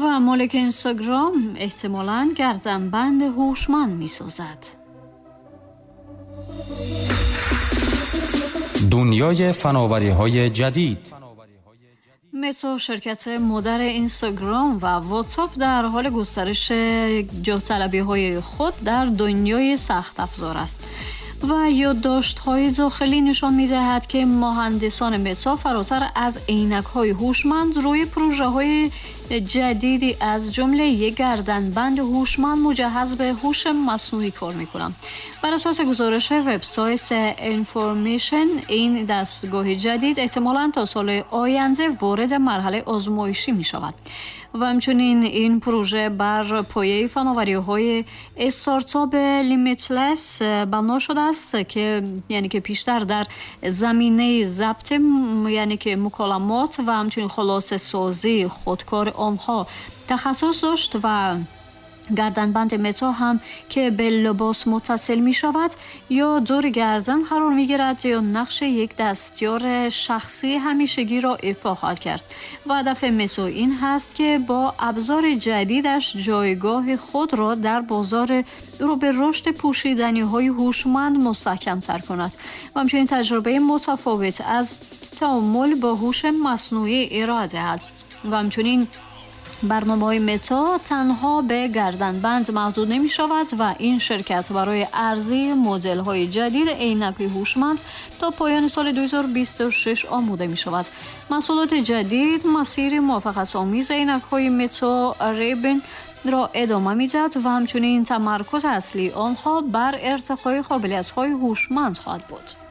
و مالک اینستاگرام احتمالاً گردنبند هوشمند می‌سازد. دنیای فناوری‌های جدید. متا، شرکت مادر اینستاگرام و واتساپ، در حال گسترش جاه‌طلبی‌های خود در دنیای سخت افزار است و یادداشت‌های داخلی نشان می‌دهد که مهندسان متا فراتر از عینک‌های هوشمند روی پروژه‌های جدیدی از جمله یک گردنبند هوشمند مجهز به هوش مصنوعی کار می‌کنند. بر اساس گزارش وبسایت اینفورمیشن، این دستگاه جدید احتمالاً تا سال آینده وارد مرحله آزمایشی می‌شود و همچنین این پروژه بر پایه فناوری‌های استارتاپ لیمیتلس بنا شده است که یعنی که پیشتر در زمینه ضبط یعنی که مکالمات و همچنین خلاصه سازی خودکار آنها تخصص داشت و گردنبند متا هم که به لباس متصل می شود یا دور گردن قرار می گیرد یا نقش یک دستیار شخصی همیشگی را ایفا خواهد کرد و هدف متا این هست که با ابزار جدیدش جایگاه خود را در بازار رو به رشد پوشیدنی های هوشمند مستحکم تر کند و همچنین تجربه متفاوت از تعامل با هوش مصنوعی ارائه دهد و همچنین برنامه‌های متا تنها به گردنبند محدود نمی شود و این شرکت برای عرضه مدل‌های جدید عینک هوشمند تا پایان سال 2026 آماده می شود. محصولات جدید مسیر موفقیت‌آمیز عینک‌های متا ریبن را ادامه می‌دهد و همچنین تمرکز اصلی آنها بر ارتقای قابلیت‌های هوشمند خواهد بود.